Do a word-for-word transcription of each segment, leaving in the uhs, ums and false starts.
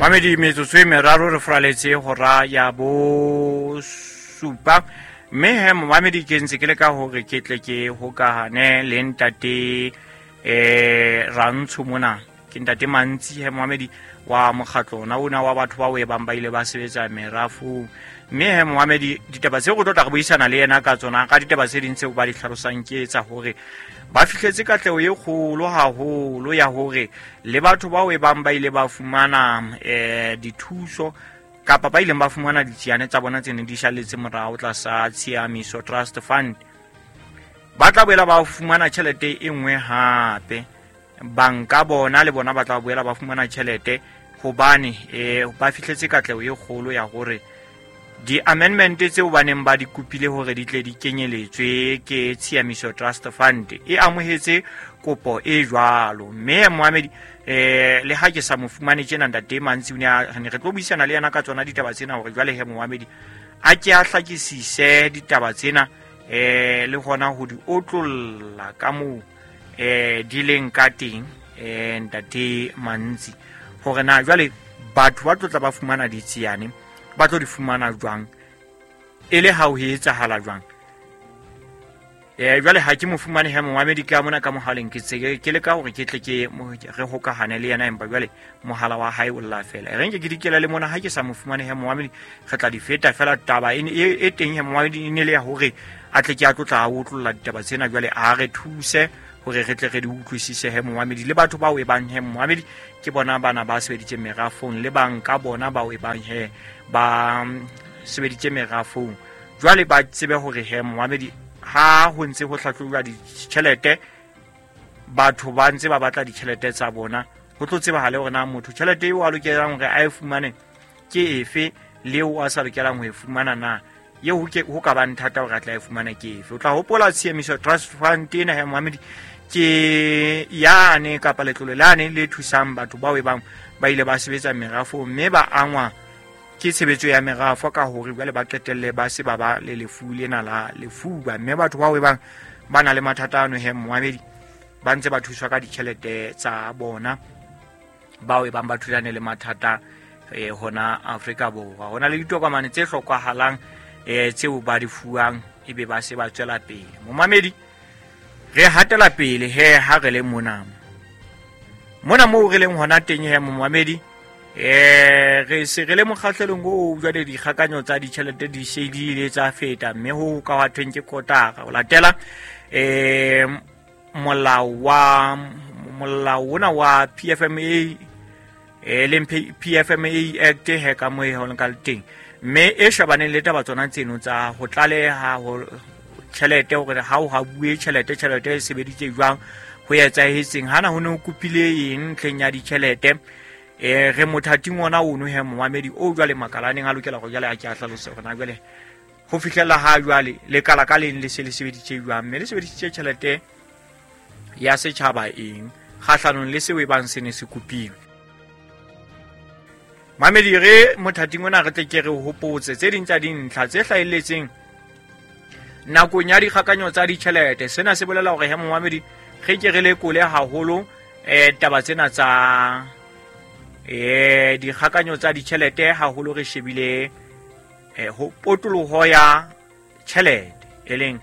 Mamedi metsotso e meraro re fraletse hora ya bo supa mme he momamedi ke ntse ke le ka hore ke tle ke hokahane le ntate eh Rantsho mona ke ntate Mantsi he momamedi wa mokgatlo ona ona wa batho ba o e bang ba ile ba sebetsa merafong mme he momamedi ditaba tseo go tlo tla re buisana le yena ka tsona ka ditaba tse ding tseo ba di hlalosang ke tsa hore ba fihletse katleho e kgolo haholo ya hore le batho bao e bang ba ile ba fumana eh dithuso kapa ba ileng ba fumana ditsiane tsa bona tse neng di shalletse morao tlasa Tshiamiso Trust Fund ba tla boela ba fumana tjhelete e nngwe hape banka bona le bona ba tla boela ba fumana tjhelete hobane eh ba fihletse katleho e kgolo ya hore di-amendment tseo ba neng ba di kopile hore di tle di kenyeletswe ke Tshiamiso Trust Fund e amohetse kopo e jwalo mme Mohamedi eh le ha ke sa mo fumane tjena ntate Mantsi o ne a re tlo buisana le yena ka tsona ditaba tsena hore jwale he Mohamedi a ke a hlakisise ditaba tsena eh le hona ho di otlolla ka moo eh di leng ka teng eh ntate Mantsi hore na jwale batho ba tlo tla ba fumana ditsiane ba tlo di fumana jwang e le ha ho etsahala jwang eh jwale ha ke mo fumane he Mohamedi ka mona ka mohaleng ke tse ke le ka hore ke tle ke re hokahane le yena empa jwale mohala wa hae o lla fela e re nke ke dikela le mona ha ke sa mo fumane he Mohamedi re tla di feta fela taba e e teng he Mohamedi e ne le ya hore a tle ke a tlotla a otlolla ditaba tsena jwale a re thuse hore re tle re di utlwisise he Mohamedi le batho bao e bang he Mohamedi ke bona bana ba sebeditse merafong le bang ka bona bao e bang he ba sebeditse merafong jwale ba tsebe hore he Mohamedi ha ho ntse ho hlahlojwa ditjhelete batho ba ntse ba batla ditjhelete tsa bona ho tlo tsebahale hore na motho tjhelete eo a lokelang hore a e fumane ke efe le eo a sa lokelang ho e fumana na eo ho ke ho ka bang thata hore a tla e fumana ke efe. O tla hopola Tshiamiso Trust Fund ena he Mohamedi ke yane kapa letlole lane le thusang batho bao e bang ba ile ba sebetsa merafong mme ba angwa ke tshebetso ya merafo ka hore jwale ba qetelle ba se ba ba le lefu lena la lefuba mme batho bao e bang ba na le mathata ano he Mohamedi ba ntse ba thuswa ka ditjhelete tsa bona bao e bang ba thulane le mathata eh hona Afrika Borwa. Hona le ditokomane tse hlokahalang eh tseo ba di fuwang ebe ba se ba tswela pele. Momamedi re hatela pele he ha re le mona mona moo re leng hona teng he momamedi eh re se re le mokgahlelong o jwale dikgakanyo tsa ditjhelete di se di ile tsa feta mme ho ka wa thweng ke kotara o latela eh molao wa molao ona wa P F M A e leng P F M A Act he ka mo e ho ka teng mme e shebaneng le taba tsona tseno tsa ho tlaleha ho tjhelete hore ha o ha bue tjhelete tjhelete e sebeditse jwang ho etsahetseng hana ho ne ho kopile eng ntlheng ya ditjhelete eh re mothating ona ono he momamedi o jwale makalaneng a lokela go jwale a ke a hlalose hore na jwale ho fihlela ha jwale le kala ka leng le se le sebeditse jwang mme le sebedisitse tjhelete ya setjhaba eng kgahlanong le seo e bang se ne se kopilwe. Mamedi re mothating ona re tle ke re hopotse tse ding tsa dintlha tse hlahelletseng nakong ya dikgakanyo tsa ditjhelete. Sena se bolela hore he momamedi re ke re lekole haholo eh taba tsena tsa eh dikgakanyo tsa ditjhelete haholo re shebile eh ho potoloho ya tjhelete e leng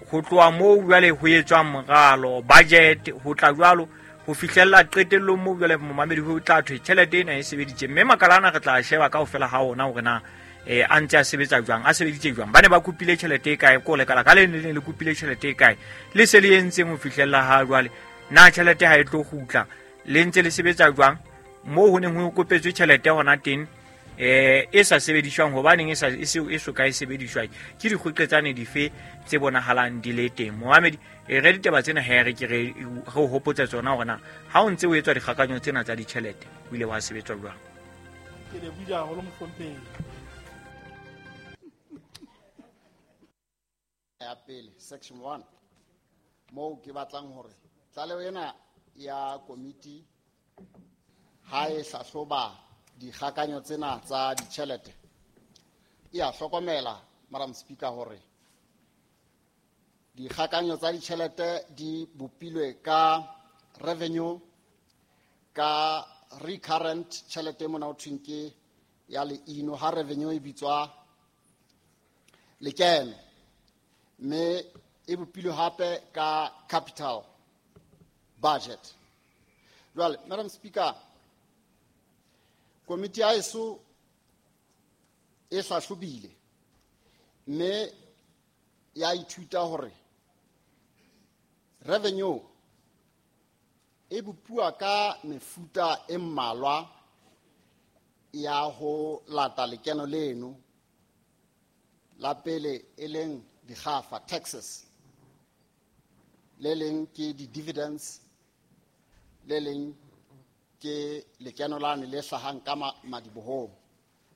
ho tloha moo jwale ho etswang moralo budget ho tla jwalo ho fihlella qetellong moo jwale momamedi ho tla thwe tjhelete ena e sebeditse mme makalana re tla sheba kaofela ha ona hore na eh a ntse a sebetsa jwang a sebeditse jwang ba ne ba kopile tjhelete e kae ko lekala ka le ne le kopile tjhelete e kae le se le entseng ho fihlella ha jwale na tjhelete ha e tlo kgutla le ntse le sebetsa jwang moo ho neng ho kopetswe tjhelete hona teng eh e sa sebediswang hobaneng e sa e se e soka e sebediswang ke dikgoqetsane dife tse bonahalang di le teng. Mohamedi e re ditaba tsena he re ke re re hopotse tsona hore na ha o ntse o etswa dikgakanyo tsena tsa ditjhelete o ile wa sebetswa jwang. Ke lebohile haholo mohlomphehi. Ya pele section one moo ke batlang hore tlaleho ena ya komiti ha e hlahloba dikgakanyo tsena tsa ditjhelete e a hlokomela Madam Speaker hore dikgakanyo tsa ditjhelete di bopilwe ka revenue ka recurrent tjhelete mona ho thweng ke ya leino, ha revenue e bitswa lekeno, mme e bopilwe hape ka capital budget. Jwale, Madam Speaker, komiti ya heso e hlahlobile mme ya ithuta hore revenue e bopuwa ka mefuta e mmalwa ya ho lata lekeno leno. La pele e leng dikgafa, taxes, le leng ke di-dividends, le leng ke lekeno lane le hlahang ka madibohong,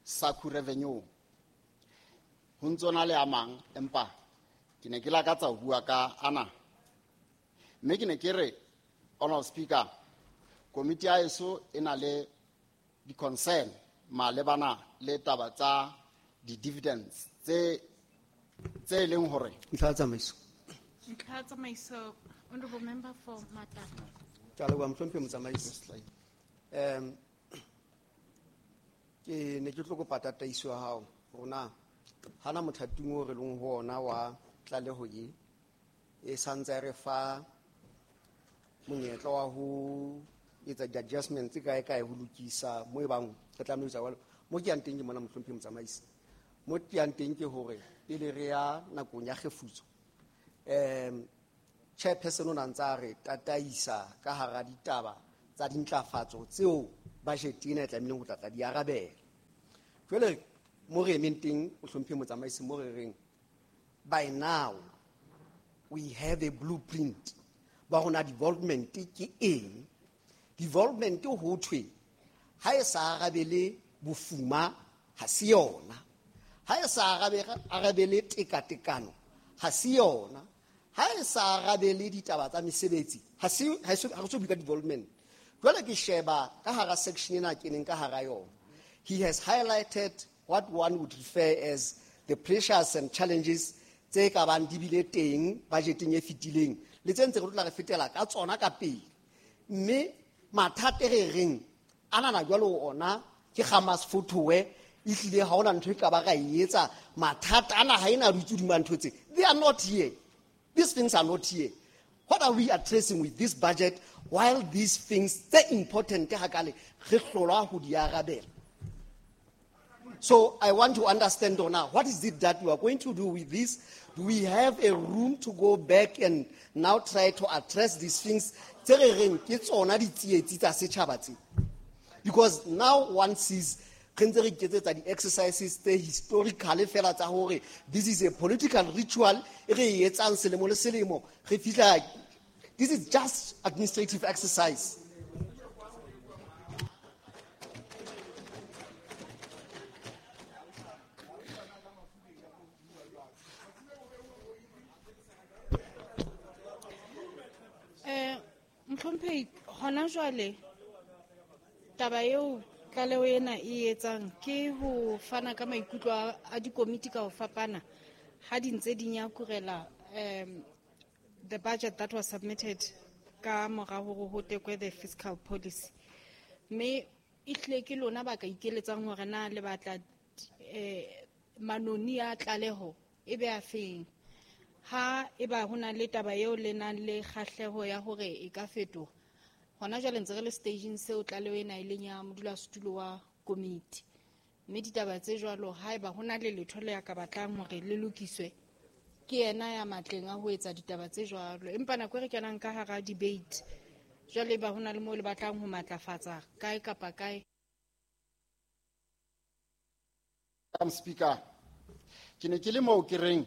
SACU revenue. Ho ntso na le a mang, empa ke ne ke lakatsa ho bua ka ana. Mme ke ne ke re, Honorable Speaker, komiti ya heso e na le di-concern malebana le taba tsa di-dividends tse tse leng hore Ntlha ya tsamaiso. Ntlha ya tsamaiso, Honorable Member for Matala. Ke a leboha, mohlomphehi motsamaisi. Um ke ne ke tlo kopa tataiso ya hao hore na hana mothating o re leng ho ona wa tlaleho e e santse e re fa monyetla wa ho etsa di-adjustments kae kae ho lokisa mo e bang re tlameha ho etsa jwalo. Mo ke yang teng ke mona, mohlomphehi motsamaisi. Mo ke yang teng ke hore pele re ya nakong ya kgefutso, um chairperson o na ntse a re tataisa ka hara ditaba tsa dintlafatso tseo budget ena e tlamehileng ho tla tla di arabela. Jwale mo re emeng teng, mohlomphehi motsamaisi, mo re reng by now we have a blueprint ba rona development ke eng. Development ho thwe ha e sa arabele bofuma ha se yona, ha e sa arabele tekatekano ha se yona, ha e sa arabele ditaba tsa mesebetsi ha se, ha re so bua ka development. Jwale ke sheba ka hara section ena keneng ka hara yona, he has highlighted what one would refer as the pressures and challenges tse ka bang di bile teng budgeteng e fetileng le tse ntse re tla re fetela ka tsona ka pele. Mme mathata e re reng ana na jwalo ona ke Hamas fothoe ehlile ha hona ntho e ka ba ra e etsa, mathata ana ha ena dutse hodima ntho tse, they are not here. These things are not here. What are we addressing with this budget while these things tse important hakale re hlolwa ho di arabela? So I want to understand now, what is it that we are going to do with this? Do we have a room to go back and now try to address these things? Tse re reng ke tsona ditsietsi tsa setjhaba tse. Because now one sees re ntse re iketsetsa di-exercises tse historical fela tsa hore this is a political ritual e re e etsang selemo le selemo, re fihla, this is just administrative exercise. Eh, Mohlomphehi, hona jwale taba eo tlaleho ena e etsang ke ho fana ka maikutlo a dikomiti ka ho fapana ha di ntse di nyakurela um the budget that was submitted ka mora hore ho tekwe the fiscal policy. Mme ehlile ke lona ba ka ikeletsang hore na le batla eh manoni a tlaleho e be a feng. Ha eba ho na le taba eo le nang le kgahleho ya hore e ka fetoha, hona jwale ntse re le stageng seo tlaleho ena e leng ya modulasetulo wa komiti. Mme ditaba tse jwalo haeba ho na le letho le ya ka batlang hore le lokiswe, ke yena ya matleng a ho etsa ditaba tse jwalo. Empa nako e re kenang ka hara debate, jwale eba ho na le moo le batlang ho matlafatsa kae kapa kae. Madam Speaker, ke ne ke le moo ke reng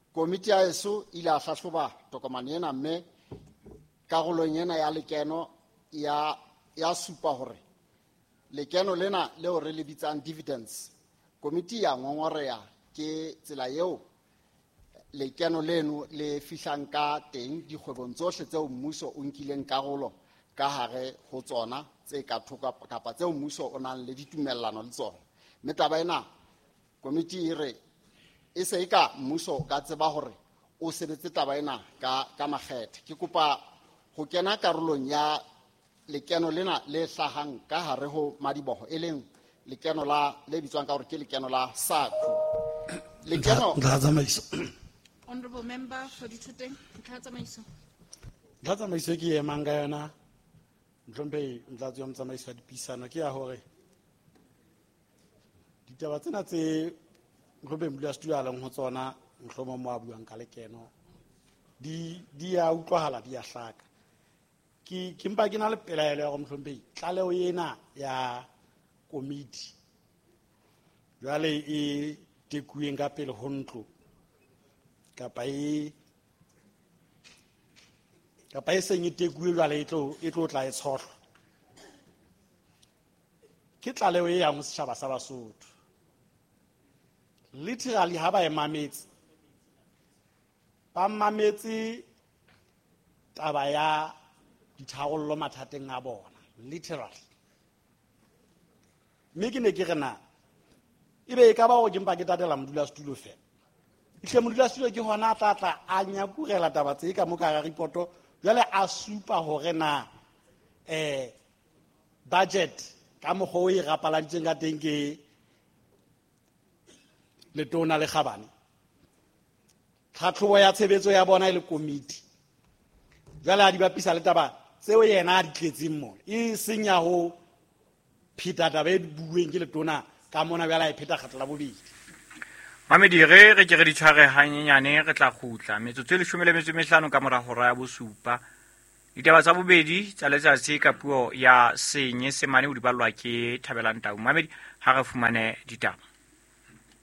komiti ya heso e ile ya hlahloba tokomane ena, mme karolong ena ya lekeno ya, ya supa hore lekeno lena leo re le bitsang dividends, komiti ya ngongoreha ke tsela eo lekeno leno le fihlang ka teng dikgwebong tsohle tseo mmuso o nkileng karolo ka hare ho tsona tse ka thoko kapa tseo mmuso o nang le ditumellano le tsona. Mme taba ena komiti e re e se e ka mmuso o ka tseba hore o sebetse taba ena ka, ka makgethe. Ke kopa ho kena karolong ya, lekeno lena le hlahang ka hare ho madiboho, e leng lekeno la le bitswang ka hore ke lekeno la SACU. Lekeno Ntlha tsamaiso. Honorable member for Dithoteng, ntlha tsamaiso. Ntlha tsamaiso ke emang ka yona, Mohlomphehi Motlatsi wa Motsamaisi wa Dipuisano, ke ya hore ditaba tsena tse Mohlomphehi Modulasetulo a leng ho tsona, mohlomong mo a buang ka lekeno, di di a utlwahala, di a hlaka. Ke ke mpa ke na le pelaelo ya hore Mohlomphehi tlaleho ena ya komiti jwale e tekuweng ka pele ho ntlo kapa e kapa e seng e tekuwe jwale e tlo e tlo tla e tshohlwa, ke tlaleho e yang ho setjhaba sa Basotho. Literally ha ba e mametse, ba mametse taba ya ditharollo mathateng a bona, literally. Mme ke ne ke re na ebe e ka ba hore ke mpa ke tatela modulasetulo fela. Ehlile modulasetulo ke hona a tla tla a nyakurela taba tse ka mo ka hara ripoto, jwale a supa hore na eh budget ka mokgwa o e rapaladitseng ka teng ke letona le kgabane, tlhatlhobo ya tshebetso ya bona e le komiti, jwale a di bapisa le taba tseo yena a di tletseng mona, e seng ya ho pheta taba e buuweng ke letona ka mona, jwale a e pheta kgetlo la bobedi. Mamedi, re re ke re di tshware hanyenyane, re tla kgutla metsotso e leshome le metso e mehlano ka mora hora ya bosupa. Ditaba tsa bobedi tsa letsatsi ka puo ya Senyesemane o di ballwa ke Thabelang Tau. Mamedi, ha re fumane ditaba.